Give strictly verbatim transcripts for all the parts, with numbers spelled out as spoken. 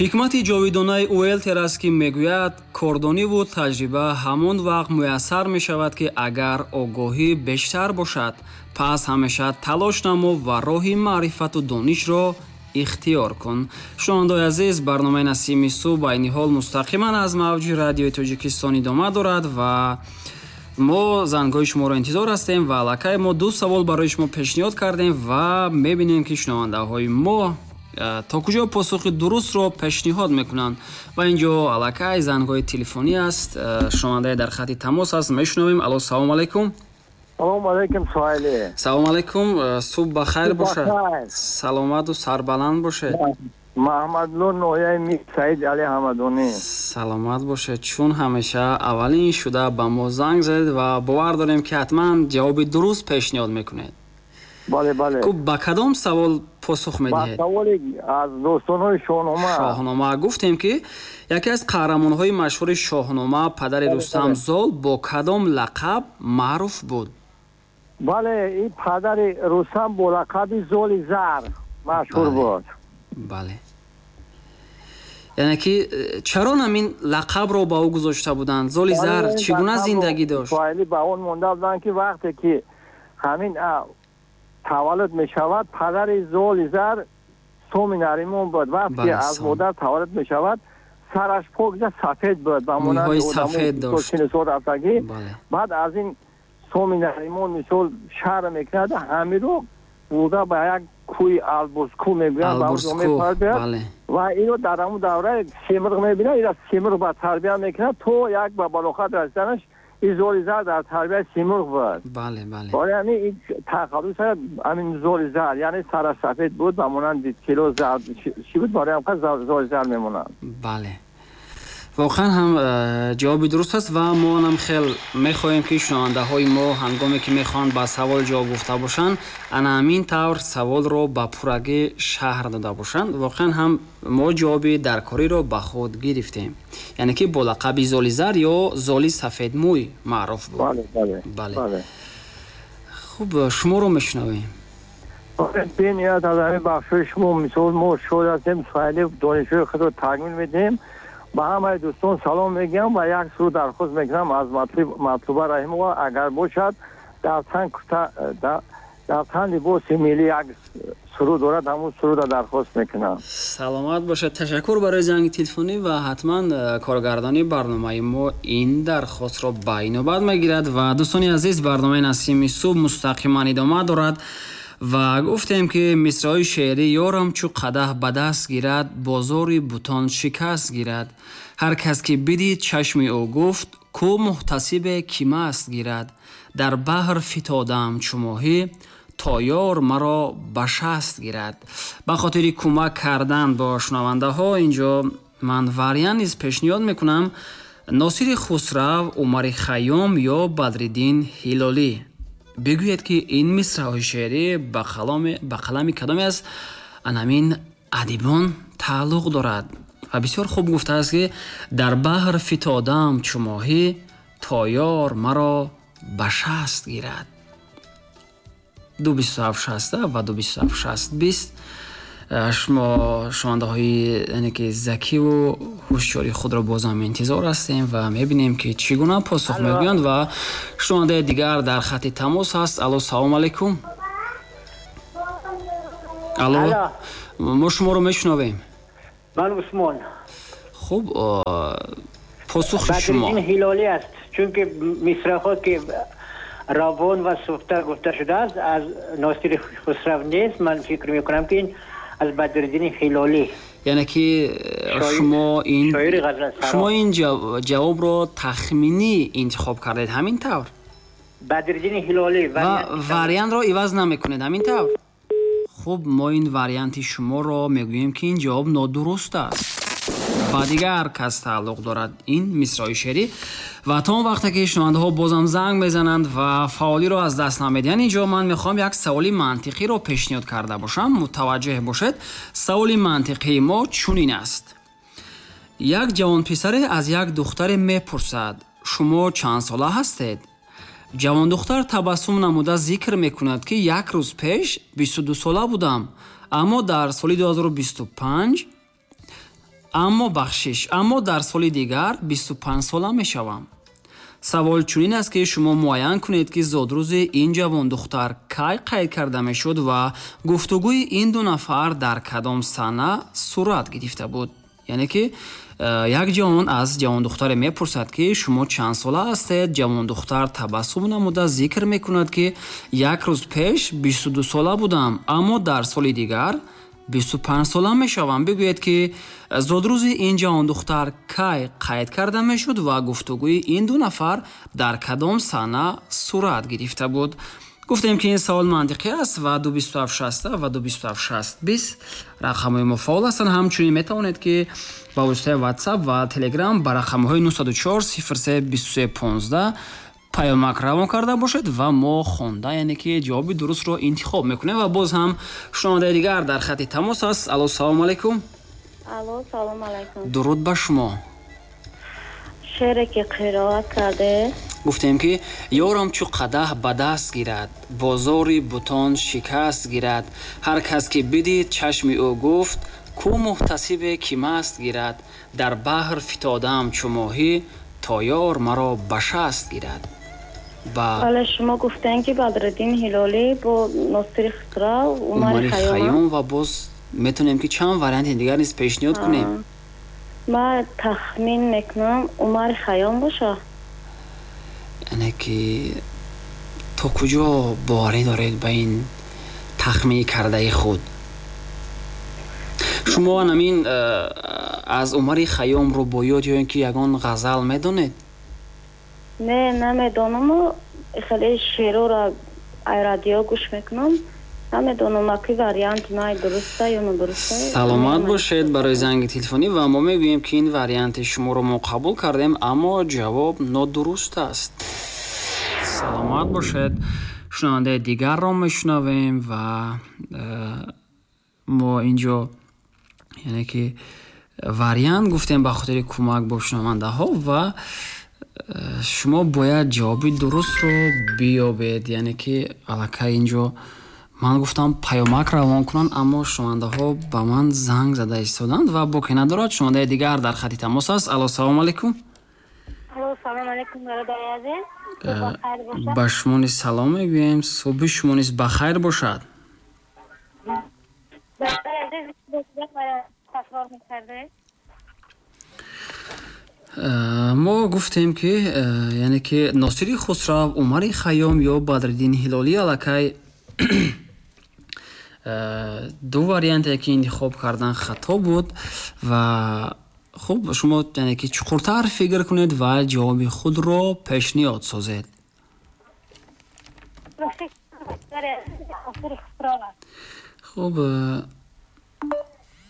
Ҳикмати ҷовидонаи Уэлтер аст, ки мегӯяд, кордониву таҷриба ҳамон вақт муяссар мешавад, ки агар огоҳӣ бештар бошад, пас ҳамеша талош намо ва роҳи маърифату донишро ихтиёр кун. Шунавандаои азиз, барномаи Насими субҳ айни ҳол мустақиман аз мавҷи радиои Тоҷикистон идома дорад ва мо зангҳои шуморо интизор ҳастем ва аллакай мо ду савол барои шумо пешниҳод кардем ва мебинем, ки шунавандаҳои мо то куҷо посухи дурустро пешниҳод мекунанд. Ва инҷо аллакай зангҳои телефонӣ аст, шунавандаи дар хати тамос аст, мешунавем. Алло, салом алайкум. Салом алайкум, Суҳайлӣ. Салом алайкум, субҳ ба хайр бошад, саломату сарбаланд бошед. Маҳмадло, ноҳияи Мир Саид Али Ҳамадонӣ. Саломат бошед, чун ҳамеша аввалин шуда ба мо занг задед ва бовар дорем, ки ҳатман ҷавоби дуруст пешниҳод мекунед. Бале, бале. Хуб, ба кадом савол посух медиҳед? Ба саволи аз достонҳои Шоҳнома. Шоҳнома. Гуфтем, ки яке аз қаҳрамонҳои машҳури Шоҳнома, падари Рустам Зол, бо кадом лақаб маъруф буд? Бале, ин падари Рустам бо лақаби Золи Зар машҳур буд. Бале. Яъне ки чаро ҳамин лақабро ба ӯ гузошта буданд? Золи Зар чӣ гуна зиндагӣ дошт? Ба он монда буданд, ки вақте ки ҳамин таваллуд мешавад, падари Золи Зар Соми Наримон буд. Вақте аз модар таваллуд мешавад, сараш покиза сафед буд, ба монанди сафед дошт. Рафтагӣ. Баъд аз ин Соми Наримон мисол шаҳр мекунад, ҳамиро бурда ба як кӯи Албурзкӯ мегӯянд, ба онҷо мепарбиёд ва инро дар ҳамон давра Семурғ мебинад, инро Семурғ ба тарбия мекунад то як ба балоғат расиданаш. Ин Золи Зар дар тарбияи Симурғ буд. Бале, бале. Барои ҳамин ин тахаллус ҳамин Золи Зар, яъне сараш сафед буд, ба монанди тило зард чӣ буд, барои ҳамин Золи Зар мемонанд. Бале. Воқеан ҳам ҷавоби дуруст аст ва мо ҳам хел мехоҳем, ки шунавандаҳои мо ҳангоме ки мехоҳанд ба савол ҷавоб гуфта бошанд, ана ҳамин тавр саволро ба пуррагӣ шарҳ дода бошанд. Воқеан ҳам мо ҷавоби даркориро ба худ гирифтем, яъне ки бо лақаби Золи Зар ё Золи Сафедмӯй маъруф буд. Бале. Хуб, шуморо мешунавем. Бениҳоят аз ҳамин бахшҳои шумо мисол мо шод ҳастем, Суҳайлӣ донишҳои худро такмил медиҳем. Ба ҳамаи дӯстон салом мегӯям ва як суруд дархост мекунам аз Матлуба Раҳимова, агар бошад, дар тан дар тан либоси миллӣ як суруд дорад, ҳамон сурудро дархост мекунам. Саломат бошад. Ташаккур барои занги телефонӣ ва ҳатман коргардони барномаи мо ин дархостро ба инобат мегирад. Ва дӯстони азиз, барномаи Насими субҳ мустақиман идома дорад ва гуфтем, ки мисраҳои шеърӣ: ёрам чу қадаҳ ба даст гирад, бозори бутон шикаст гирад, ҳар кас ки бидид чашми ӯ гуфт, ку муҳтасибе ки маст гирад, дар баҳр фитодам чу моҳӣ, то ёр маро ба шаст гирад. Ба хотири кӯмак кардан бо шунавандаҳо инҷо ман вариант низ пешниҳод мекунам: Носири Хусрав, Умари Хайём ё Бадриддин Ҳилолӣ. Бигӯед, ки ин мисраҳои шеърӣ ба қалами кадоме аз анамин адибон тааллуқ дорад. Ва бисёр хуб гуфтааст, ки дар баҳр фитодам чу моҳӣ, то ёр маро ба шаст гирад. Ду бисту ҳафт шаста ва ду бисту ҳафт шаст бист. Шумо шунавандаҳои яъне ки закиву ҳушёри худро бозам интизор ҳастем ва мебинем, ки чӣ гуна посух мегӯянд. Ва шунавандаи дигар дар хати тамос ҳаст. Алло, салом алайкум. Алло, мо шуморо мешунавем. Ман Усмон. Хуб, посухи шумо? Бадриддин Ҳилолӣ аст, чунки мисраҳо ки равон ва суфта гуфта шудааст аз Носири Хусрав нест. Ман фикр мекунам, ки ин аз Бадриддини Ҳилолӣ. Яъне ки шумо ин шумо ин ҷавобро тахминӣ интихоб кардед, ҳамин тавр? Бадриддини Ҳилолӣ. Ва вариантро иваз намекунед, ҳамин тавр? Хуб, мо ин варианти шуморо мегӯем, ки ин ҷавоб нодуруст аст, ба дигар кас тааллуқ дорад ин мисраи шеърӣ. Ва то он вақте ки шунавандаҳо бозам занг мезананд ва фаъолиро аз даст намедиҳанд, инҷо ман мехоҳам як саволи мантиқиро пешниҳод карда бошам. Мутаваҷҷеҳ бошед, саволи мантиқии мо чунин аст: як ҷавонписаре аз як духтаре мепурсад: шумо чанд сола ҳастед? Ҷавондухтар табассум намуда зикр мекунад, ки як рӯз пеш бисту ду сола будам, аммо дар соли ду ҳазору бисту панҷ Аммо бахшиш, аммо дар соли дигар бисту панҷ сола мешавам. Савол чунин аст, ки шумо муайян кунед, ки зодрӯзи ин ҷавондухтар кай қайд карда мешуд ва гуфтугӯи ин ду нафар дар кадом сана сурат гирифта буд. Яъне ки як ҷавон аз ҷавондухтаре мепурсад, ки шумо чанд сола ҳастед. Ҷавондухтар табассум намуда зикр мекунад, ки як рӯз пеш бисту ду сола будам, аммо дар соли дигар бисту панҷ сола мешавам. Бигӯед, ки зодрӯзи ин ҷавондухтар кай қайд карда мешуд ва гуфтугӯи ин ду нафар дар кадом сана сурат гирифта буд. Гуфтем, ки ин савол мантиқӣ аст ва ду бисту ҳафт шаста ва ду бисту ҳафт шаст бист рақамҳои мо фаъол ҳастанд. Ҳамчунин метавонед, ки ба воситаи WhatsApp ва Telegram ба рақамҳои нӯҳсаду чор сифр се бисту се понздаҳ паёмак равон карда бошед ва мо хонда, яъне ки ҷавоби дурустро интихоб мекунем. Ва боз ҳам шунавандаи дигар дар хати тамос аст. Алло, салому алайкум. Алло, салому алайкум. Дуруд ба шумо. Шеъре ки қироат карде, гуфтем, ки ёрам чу қадаҳ ба даст гирад, бозори бутон шикаст гирад, ҳар кас ки бидид чашми ӯ гуфт, ку муҳтасибе ки маст гирад, дар баҳр фитодаам чу моҳӣ, то ёр маро ба шаст гирад. Ба бале, шумо гуфтем, ки Бадриддин Ҳилолӣ бо Носири Хусрав, Умари Умари Хайём Хайём ва боз метавонем, ки чанд варианти дигар низ пешниҳод кунем. Ман тахмин мекунам, Умари Хайём боша. Яъне ки то куҷо боварӣ доред ба ин тахмини кардаи худ? Шумо анамин э, аз Умари Хайём рубоёт ё ин ки ягон ғазал медонед? Не, намедонаму хеле шеърора ай радио гӯш мекунам. Намедонам, аки варианти май дуруста ё нодуруста. Саломат бошед барои занги телефонӣ ва мо мегӯем, ки ин варианти шуморо мо қабул кардем, аммо ҷавоб нодуруст аст. Саломат бошед. Шунавандаи дигарро мешунавем ва э, мо инҷо, яъне ки вариант гуфтем ба хотири кӯмак бо шунавандаҳо ва э, шумо бояд ҷавоби дурустро биёбед. Яъне ки аллакай инҷо ман гуфтам паёмак равон кунанд, аммо шунавандаҳо ба ман занг зада истоданд ва боке надорад. Шунавандаи дигар дар хати тамос аст. Алло, салому алайкум. Алло, салом алайкум, бародари азиз. Э, ба шумо низ салом мегӯем, субҳи шумо низ ба хайр бошад. Бародари азиз, такрор мекарде? Э, мо гуфтем, ки э, яъне ки Носири Хусрав, Умари Хайём ё Бадриддин Ҳилолӣ. Аллакай э, ду варианте ки интихоб кардан хато буд ва хуб, шумо яъне ки чуқуртар фикр кунед ва ҷавоби худро пешниҳод созед. Хуб,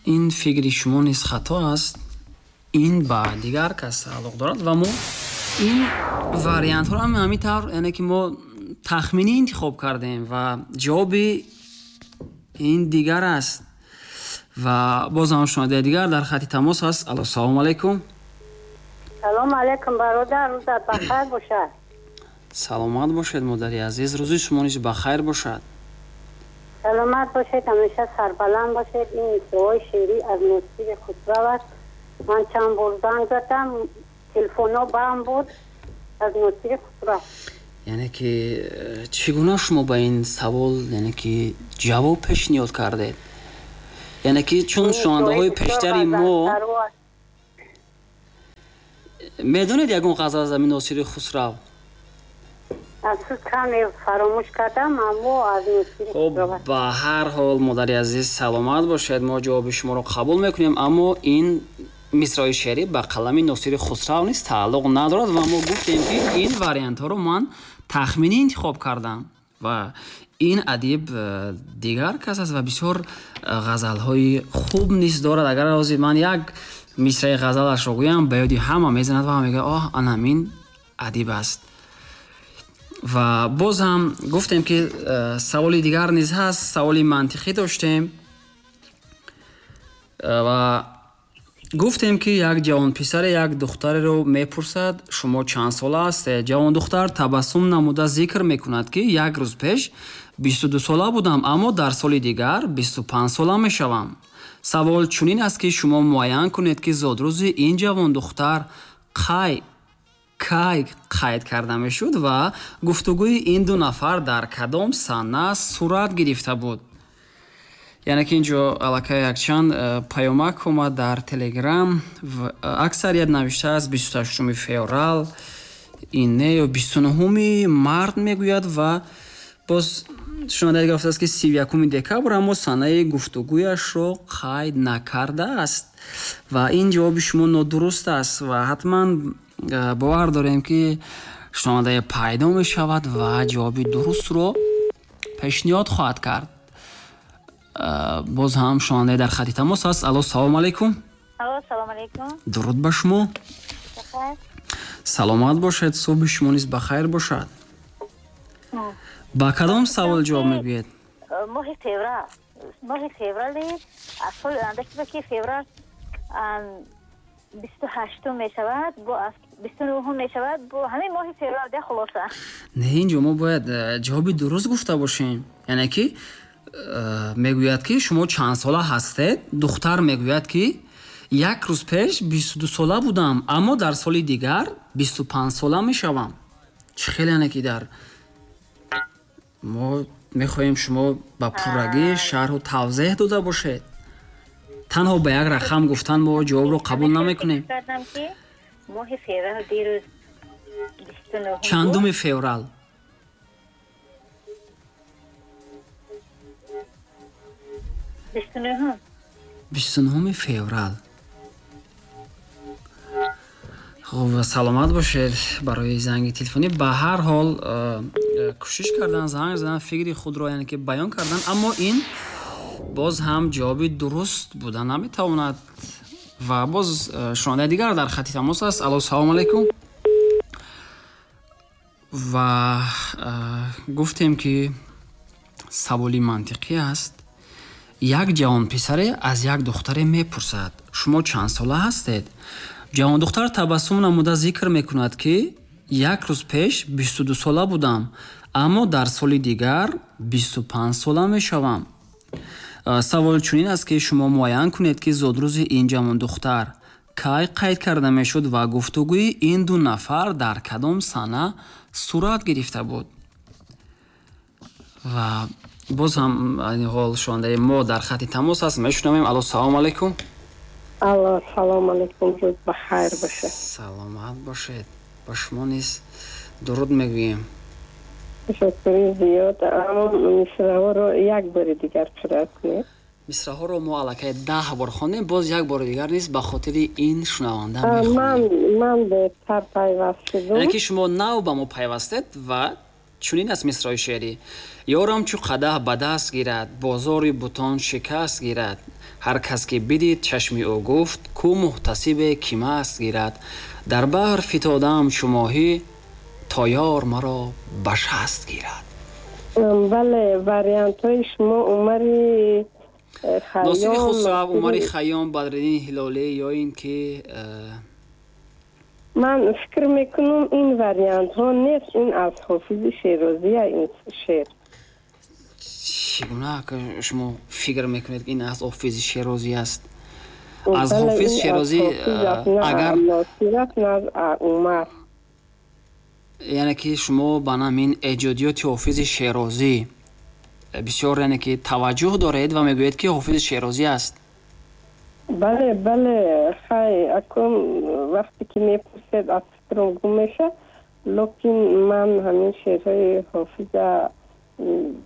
ин фикри шумо низ хато аст. Ин ба дигар кас тааллуқ дорад ва мо ин вариантҳоро ҳамин тавр, яъне ки мо тахминӣ интихоб кардем ва ҷавоби ин дигар аст. Ва боз ҳам шунавандаи дигар дар хати тамос ҳаст. Алло, салому алайкум. Салом алайкум, бародар, рӯзат бахайр бошад. Саломат бошед, модари азиз, рӯзи шумо низ бахайр бошад. Саломат бошед, ҳамеша сарбаланд бошед. Ин мисраҳои шеърӣ аз Носири Хусрав аст. Ман чанд бор занг задам, телефонҳо банд буд. Аз Носири Хусрав. Яъне ки э, чӣ гуна шумо ба ин савол, яъне ки ҷавоб пешниҳод кардед? Яъне ки чун шунавандаҳои пештари мо медонед ягон ғазал аз ҳамин Носири Хусрав? Афсӯс, каме фаромӯш кардам, аммо аз Носири Хуб, Хусрав аст. Ба ҳар ҳол, модари азиз, саломат бошед, мо ҷавоби шуморо қабул мекунем, аммо ин мисраи шеърӣ ба қалами Носири Хусрав низ тааллуқ надорад ва мо гуфтем, ки ин вариантҳоро ман тахминӣ интихоб кардам ва ин адиб э, дигар кас аст ва бисёр э, ғазалҳои хуб низ дорад. Агар ҳозир ман як мисраи ғазалашро гӯям, ба ёди ҳама мезанад ва ҳама мегӯяд: оҳ, ана ҳамин адиб аст. Ва боз ҳам гуфтем, ки э, саволи дигар низ ҳаст. Саволи мантиқӣ доштем ва гуфтем, ки як ҷавонписаре як духтареро мепурсад: шумо чанд сола ҳастед? Ҷавондухтар табассум намуда зикр мекунад, ки як рӯз пеш бисту ду сола будам, аммо дар соли дигар бисту панҷ сола мешавам. Савол чунин аст, ки шумо муайян кунед, ки зодрӯзи ин ҷавондухтар қай кай қайд карда мешуд ва гуфтугӯи ин ду нафар дар кадом сана сурат гирифта буд. Яъне ки инҷо аллакай якчанд э, паёмак омад дар Телеграм. Аксарият навиштааст бисту ҳаштуми феврал, ин не, ё бисту нуҳуми март мегӯяд ва боз шунавандаи дигар гуфтааст, ки сию якуми декабр, аммо санаи гуфтугӯяшро қайд накардааст ва ин ҷавоби шумо нодуруст аст ва ҳатман э, бовар дорем, ки шунавандае пайдо мешавад ва ҷавоби дурустро пешниҳод хоҳад кард. Э, боз ҳам шунавандае дар хати тамос аст. Алло, салому алайкум. Алло, салому алайкум. Дуруд ба шумо. Саломат бошед, субҳи шумо низ ба хайр бошад. Ба кадом савол ҷавоб мегӯед? Моҳи феврал, моҳи феврали аз соли оянда, ки феврал бисту ҳаштум мешавад, бо бисту нуҳум мешавад, бо ҳамин моҳи феврал де хулоса. Не, инҷо мо бояд э, ҷавоби дуруст гуфта бошем. Яъне ки э, мегӯяд, ки шумо чанд сола ҳастед? Духтар мегӯяд, ки як рӯз пеш бисту ду сола будам, аммо дар соли дигар бисту панҷ сола мешавам. Чӣ хел, яъне ки дар мо мехоҳем шумо ба пуррагӣ шарҳу тавзеҳ дода бошед. Танҳо ба як рақам гуфтан мо ҷавобро қабул намекунем. Моҳи феврал дирӯз бисту нуҳум. Чандуми феврал? Бисту нуҳум. Бисту нуҳуми феврал. Хуб, саломат бошед барои занги телефонӣ. Ба ҳар ҳол э, кӯшиш кардан, занг задан, фикри худро яъне ки баён кардан, аммо ин боз ҳам ҷавоби дуруст буда наметавонад. Ва боз э, шунавандаи дигар дар хати тамос аст. Алло, салому алайкум. Ва э, гуфтем, ки саволи мантиқӣ аст. Як ҷавонписаре аз як духтаре мепурсад: шумо чанд сола ҳастед? Ҷавондухтар табассум намуда зикр мекунад, ки як рӯз пеш бисту ду сола будам, аммо дар соли дигар бисту панҷ сола мешавам. Савол чунин аст, ки шумо муайян кунед, ки зодрӯзи ин ҷавондухтар кай қайд карда мешуд ва гуфтугӯи ин ду нафар дар кадом сана сурат гирифта буд. Ва боз ҳам айни ҳол шунавандаи мо дар хати тамос аст. Мешунавем. Алло, салому алайкум. Алло, салому алайкум, рӯз ба хайр бошед. Саломат бошед, ба шумо низ дуруд мегӯем. Ташаккури зиёд. Аммо мисраҳоро як бори дигар қироат кунед. Мисраҳоро мо аллакай даҳ бор хондем, боз як бори дигар низ ба хотири ин шунаванда ман мехонем. Ман дертар пайваст шудум. Яъне ки шумо нав ба мо пайвастед ва чунин аст мисраи шеърӣ: ёрам чу қадаҳ ба даст гирад, бозори бутон шикаст гирад, ҳар кас ки бидид чашми ӯ гуфт, ку муҳтасибе ки маст гирад, дар баҳр фитодаам чу моҳӣ, то ёр маро ба шаст гирад. Бале, вариантҳои шумо Умари э, Носири Хайём, Хусрав, Умари Носири Хайём, Бадриддин Ҳилолӣ ё ин ки э, Ман фикр мекунам, ин вариантҳо нест, ин аз Ҳофизи Шерозия ин шеър. Чӣ гуна шумо фикр мекунед, ки ин аз Ҳофизи Шерозӣ аст? Аз Бале, Ҳофиз ин аз Шерозӣ Ҳофиз аст, э, на агар Носир аст, на аз Умар. Яъне ки шумо ба намин эҷодиёти Ҳофизи Шерозӣ бисёр яъне ки таваҷҷӯҳ доред ва мегӯед, ки Ҳофизи Шерозӣ аст. Бале, бале, хай, акун вақте ки мепурсед, аз фикрам гум мешавад, лекин ман ҳамин шеърҳои Ҳофиза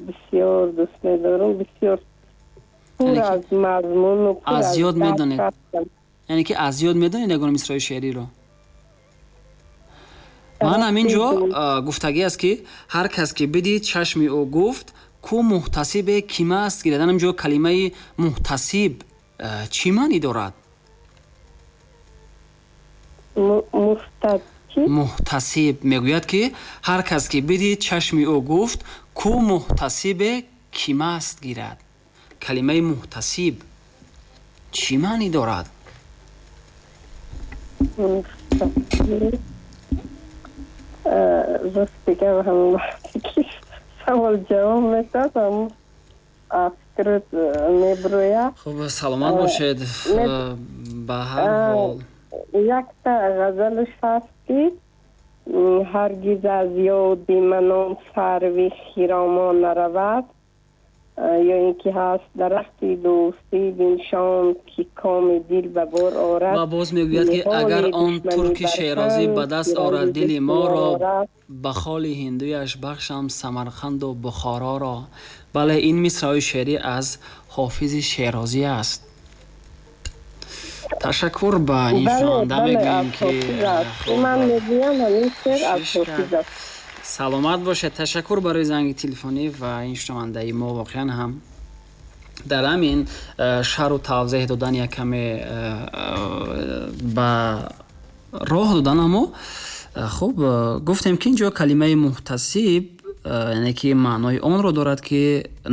бисёр дӯст медорам, бисёр пур Яъне ки аз мазмуну пур аз аз ёд дарк медонед. ҳастанд. Яъне ки аз ёд медонед ягон мисраи шеъриро? Ман ҳамин ҷо гуфтагӣ аст, ки ҳар кас ки бидид чашми ӯ гуфт, ку муҳтасибе ки маст гирад. Ҳамин ҷо калимаи муҳтасиб чӣ маънӣ дорад? Муҳтасиб мегӯяд, ки ҳар кас ки бидид чашми ӯ гуфт, ку муҳтасибе ки маст гирад. Калимаи муҳтасиб чӣ маънӣ дорад? Рост дигар, ҳамон вақте ки савол ҷавоб медод, ҳамон суруд меброяд. Хуб, саломат бошед. Ба ҳар ҳол якта ғазалаш ҳаст ки ҳаргиз аз ёди манон сарви хиромон наравад, ё ин ки ҳаст дарахти дӯстӣ биншон ки коми дил ба бор орад. Ва боз мегӯяд ки агар он турки шерозӣ ба даст орад дили моро, ба холи ҳиндуяш бахшам Самарқанду Бухороро. Бале, ин мисраи шеърӣ аз Ҳофизи Шерозӣ аст. Ташаккур ба ин шунаванда мегӯем ки ман мегӯям ҳамин шеър аз Ҳофиз аст. Саломат бошед. Ташаккур барои занги телефонӣ ва ин шунавандаи мо воқеан ҳам дар ҳамин шарҳу тавзеҳ додан як каме ба роҳ додан, аммо хуб гуфтем ки инҷо калимаи муҳтасиб яъне ки маънои онро дорад ки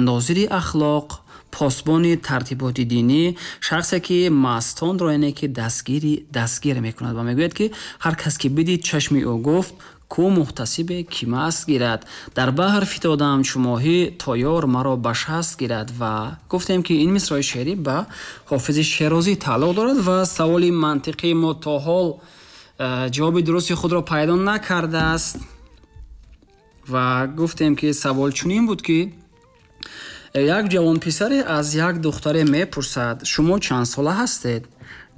нозири ахлоқ, посбони тартиботи динӣ, шахсе ки мастонро яъне ки дастгири дастгир мекунад ва мегӯяд ки ҳар кас ки бидид чашми ӯ гуфт ку муҳтасибе ки маст гирад, дар баҳр фитодам чу моҳӣ то ёр маро ба шаст гирад. Ва гуфтем ки ин мисраи шеърӣ ба Ҳофизи Шерозӣ тааллуқ дорад ва саволи мантиқии мо то ҳол ҷавоби дурусти худро пайдо накардааст. Ва гуфтем ки савол чунин буд ки як ҷавонписаре аз як духтаре мепурсад шумо чанд сола ҳастед?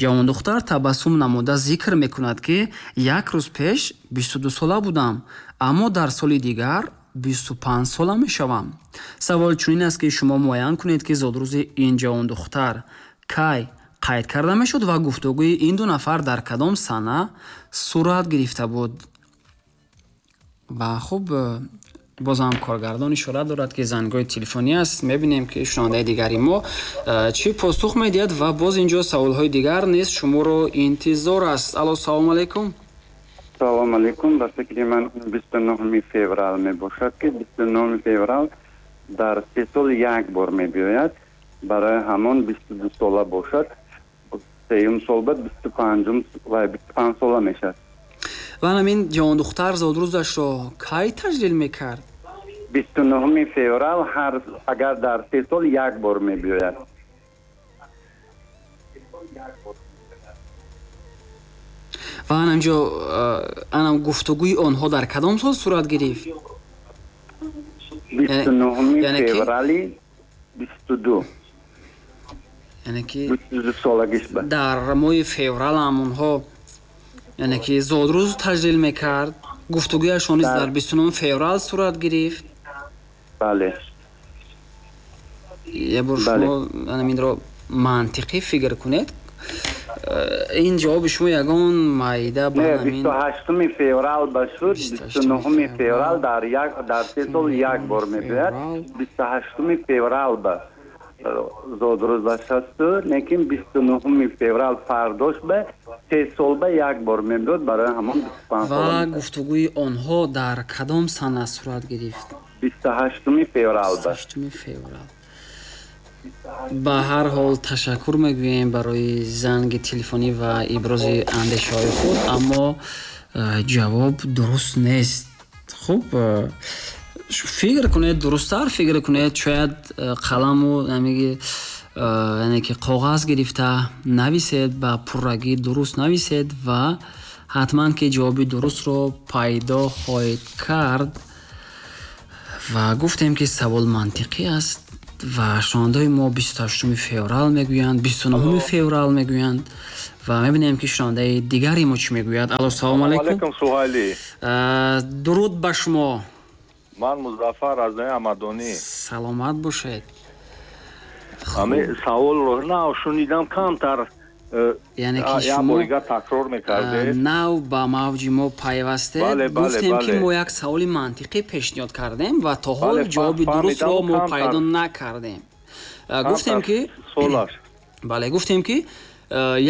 Ҷавондухтар табассум намуда зикр мекунад ки як рӯз пеш бисту ду сола будам, аммо дар соли дигар бисту панҷ сола мешавам. Савол чунин аст ки шумо муайян кунед ки зодрӯзи ин ҷавондухтар кай қайд карда мешуд ва гуфтугӯи ин ду нафар дар кадом сана сурат гирифта буд. Ва хуб, бозам коргардон ишора дорад ки зангҳои телефонӣ аст. Мебинем ки шунавандаи дигари мо чӣ посух медиҳад ва боз инҷо саволҳои дигар низ шуморо интизор аст. Алло, салом алейкум. Салом алейкум. Ба фикри ман бисту нӯҳуми феврал мебошад ки бисту нӯҳуми феврал дар се сол як бор мебиёяд. Барои ҳамон бисту ду сола бошад, сеюм сол ба бисту панҷум ва бисту панҷ сола мешавад. Ва ҳамин ҷавондухтар зодрӯзашро кай таҷлил мекард? бисту нӯҳуми феврал ҳар агар дар се сол як бор мебиёяд. Ва анамҷо анам гуфтугӯи онҳо дар кадом сол сурат гирифт? бисту нӯҳуми феврали бисту ду. Яъне ки бисту ду солагиш ба дар моҳи феврал ҳам онҳо яъне ки зодрӯз таҷлил мекард. Гуфтугӯяшон низ дар бисту нӯҳуми феврал сурат гирифт. Бале. Як бор шумо инро мантиқӣ фикр кунед. Ин ҷавоби шумо ягон майда ба ҳамин бисту ҳаштуми феврал ба шуд, бисту нӯҳуми феврал дар як дар се сол як бор мебиёяд. бисту ҳаштуми феврал ба зодрӯзаш ҳасту, лекин бисту нӯҳуми феврал фардош ба се сол ба як бор мебиёд, барои ҳамон бисту панҷ ва сола. Гуфтугӯи онҳо дар кадом сана сурат гирифт? бисту ҳаштуми феврал ба. бисту ҳаштуми феврал. Ба ҳар ҳол ташаккур мегӯем барои занги телефонӣ ва ибрози андешаҳои худ, аммо ҷавоб дуруст нест. Хуб, фикр кунед, дурусттар фикр кунед, шояд қаламу яъне ки коғаз гирифта нависед, ба пуррагӣ дуруст нависед ва ҳатман ки ҷавоби дурустро пайдо хоҳед кард. Ва гуфтем ки савол мантиқӣ аст ва шунавандаҳои мо бисту ҳаштуми феврал мегӯянд, бисту нӯҳуми феврал мегӯянд ва мебинем ки шунавандаи дигари мо чӣ мегӯяд. Алло, салом алейкум. Алейкум, Суҳайлӣ. Дуруд ба шумо. Ман Музаффар аз ноҳияи Ҳамадонӣ. Саломат бошед. Ҳамин саволро нав шунидам, камтар яъне ки як шумо бор дигар такрор мекардед. Нав ба мавҷи мо пайвастед. Бале, бале, гуфтем ки бале. мо як саволи мантиқӣ пешниҳод кардем ва то ҳол Бале, ҷавоби фаҳмидам, дурустро мо камтар. пайдо накардем. Гуфтем ки солаш. Бале, гуфтем ки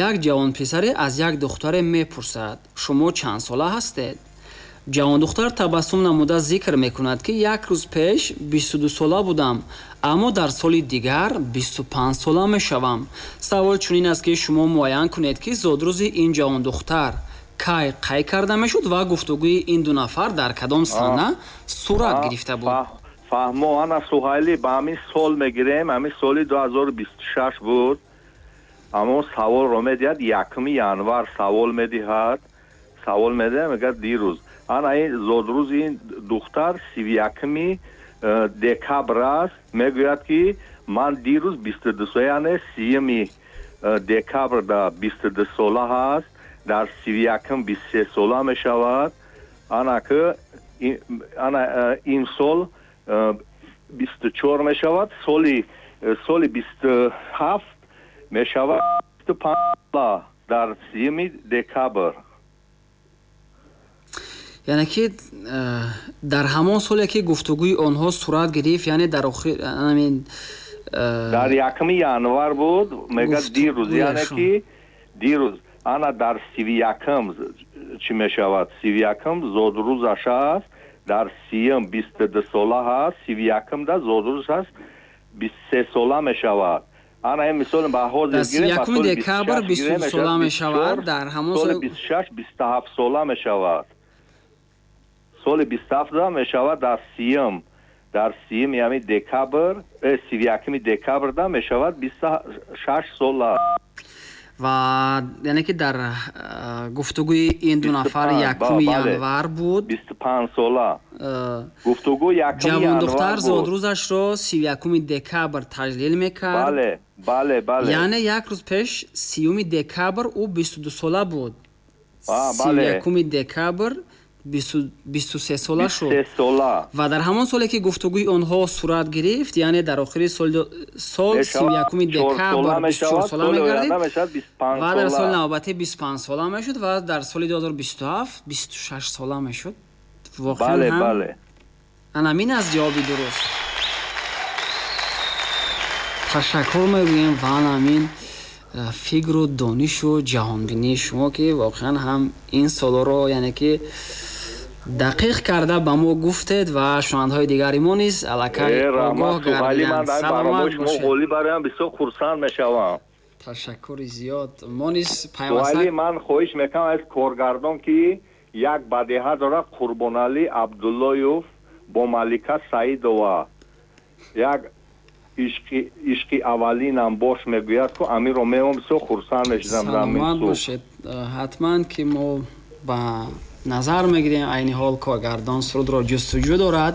як ҷавонписаре аз як духтаре мепурсад шумо чанд сола ҳастед? Ҷавондухтар табассум намуда зикр мекунад ки як рӯз пеш бисту ду сола будам, аммо дар соли дигар бисту панҷ сола мешавам. Савол чунин аст ки шумо муайян кунед ки зодрӯзи ин ҷавондухтар кай қайд карда мешуд ва гуфтугӯи ин ду нафар дар кадом сана сурат гирифта буд. Фаҳмо, ана Суҳайлӣ, ба ҳамин сол мегирем, ҳамин соли ду ҳазору бисту шаш буд. Аммо саволро медиҳад, якуми январ савол медиҳад, савол медиҳад, мегӯяд дирӯз. Ана ин зодрӯзи ин духтар сиву якуми декабр аст, мегӯяд ки ман дирӯз бисту ду сола, яъне сиюми декабр да бисту ду сола ҳаст, дар сиву якум бисту се сола мешавад. Ана ки ана имсол бисту чор мешавад, соли соли бисту ҳафт мешавад бисту панҷ сола дар сиюми декабр. Яъне ки дар ҳамон соле ки гуфтугӯи онҳо сурат гирифт, яъне дар охир ҳамин дар якуми январ буд, мегӯяд дирӯз, яъне ки дирӯз ана дар сиву якум чӣ мешавад? Сиву якум зодрӯзаш аст, дар сиюм бисту ду сола ҳаст, сиву якум да зодрӯз аст, бисту се сола мешавад. Ана ин мисол ба ҳозир гирем, ба соли декабр бисту ду сола мешавад, дар ҳамон соли бисту шаш бисту ҳафт сола мешавад. Соли бисту ҳафт мешавад дар сиюм, дар сиюм яъне декабр, сиву якуми декабр да мешавад бисту шаш сола. Ва яъне ки дар гуфтугӯи ин ду нафар якуми январ буд, бисту панҷ сола гуфтугӯ якуми январ ҷавондухтар зодрӯзашро сиву якуми декабр таҷлил мекард. Бале, бале, бале. Яъне як рӯз пеш сиюми декабр ӯ бисту ду сола буд. Сиву якуми декабр бисту се сола шуд. Ва дар ҳамон соле ки гуфтугӯи онҳо сурат гирифт, яъне дар охири сол сиву якуми декабр бисту чор сола мегардид ва дар соли навбатӣ бисту панҷ сола мешуд ва дар соли ду ҳазору бисту ҳафт бисту шаш сола мешуд. Воқеан ҳам ана ҳамин аст ҷавоби дуруст. Ташаккур мегӯем ва ана ҳамин фикру донишу ҷаҳонбинии шумо ки воқеан ҳам ин солҳоро яъне ки дақиқ карда ба мо гуфтед ва шунавандаҳои дигари мо низ аллакай огоҳ гардиданд. Саломат бошед. Ғолиб бароям бисёр хурсанд мешавам. Ташаккури зиёд. Мо низ пайваста вале ман хоҳиш мекунам аз коргардон ки як бадеҳа дорад Қурбоналӣ Абдуллоев бо Малика Саидова, як ишқи ишқи аввалинам бош мегӯяд ку амирро меом бисёр хурсанд мешудам. Саломат бошед. Ҳатман ки мо ба назар мегирем айни ҳол коргардон сурудро ҷустуҷӯ дорад.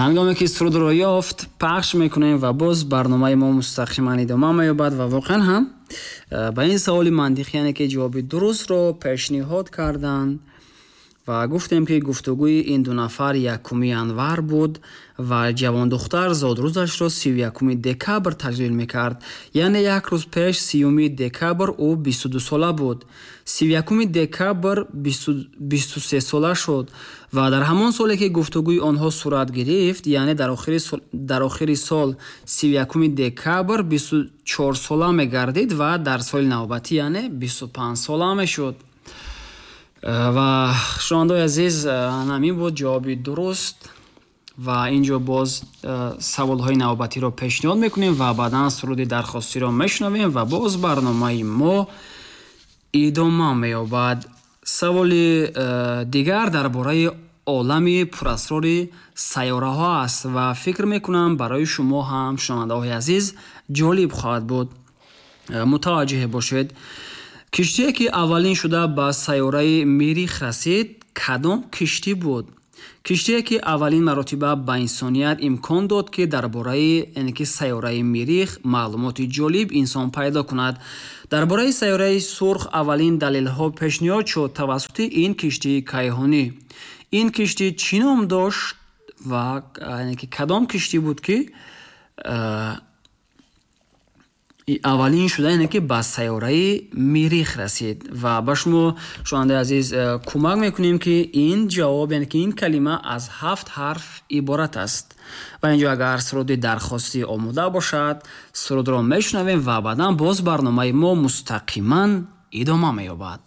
Ҳангоме ки сурудро ёфт пахш мекунем ва боз барномаи мо мустақиман идома меёбад ва воқеан ҳам ба ин саволи мантиқӣ яъне ки ҷавоби дурустро пешниҳод карданд ва гуфтем ки гуфтугӯи ин ду нафар якуми январ буд ва ҷавондухтар зодрӯзашро сиву якуми декабр таҷлил мекард. Яъне як рӯз пеш сиюми декабр ӯ бисту ду сола буд. Сиву якуми декабр бисту се сола шуд ва дар ҳамон соле ки гуфтугӯи онҳо сурат гирифт, яъне дар охири сол сиву якуми декабр бисту чор сола мегардид ва дар соли навбатӣ яъне бисту панҷ сола мешуд. Ва шунавандаҳои азиз, ҳамин буд ҷавоби дуруст ва инҷо боз саволҳои навбатиро пешниҳод мекунем ва баъдан суруди дархостиро мешунавем ва боз барномаи мо идома меёбад. Саволи дигар дар бораи олами пурасрори сайёраҳо аст ва фикр мекунам барои шумо ҳам шунавандаҳои азиз ҷолиб хоҳад буд. Мутаваҷҷеҳ бошед. Киштие ки аввалин шуда ба сайёраи Мирих расид, кадом киштӣ буд? Киштие ки аввалин маротиба ба инсоният имкон дод, ки дар бораи яъне ки сайёраи Мирих маълумоти ҷолиб инсон пайдо кунад. Дар бораи сайёраи сурх аввалин далелҳо пешниҳод шуд тавассути ин киштии кайҳонӣ. Ин киштӣ чӣ ном дошт ва яъне ки кадом киштӣ буд ки аввалин шуда яъне ки ба сайёраи Мирих расид? Ва ба шумо шунавандаи азиз кӯмак мекунем ки ин ҷавоб яъне ки ин калима аз ҳафт ҳарф иборат аст. Ва инҷо агар суруди дархостӣ омода бошад, сурудро мешунавем ва баъдан боз барномаи мо мустақиман идома меёбад.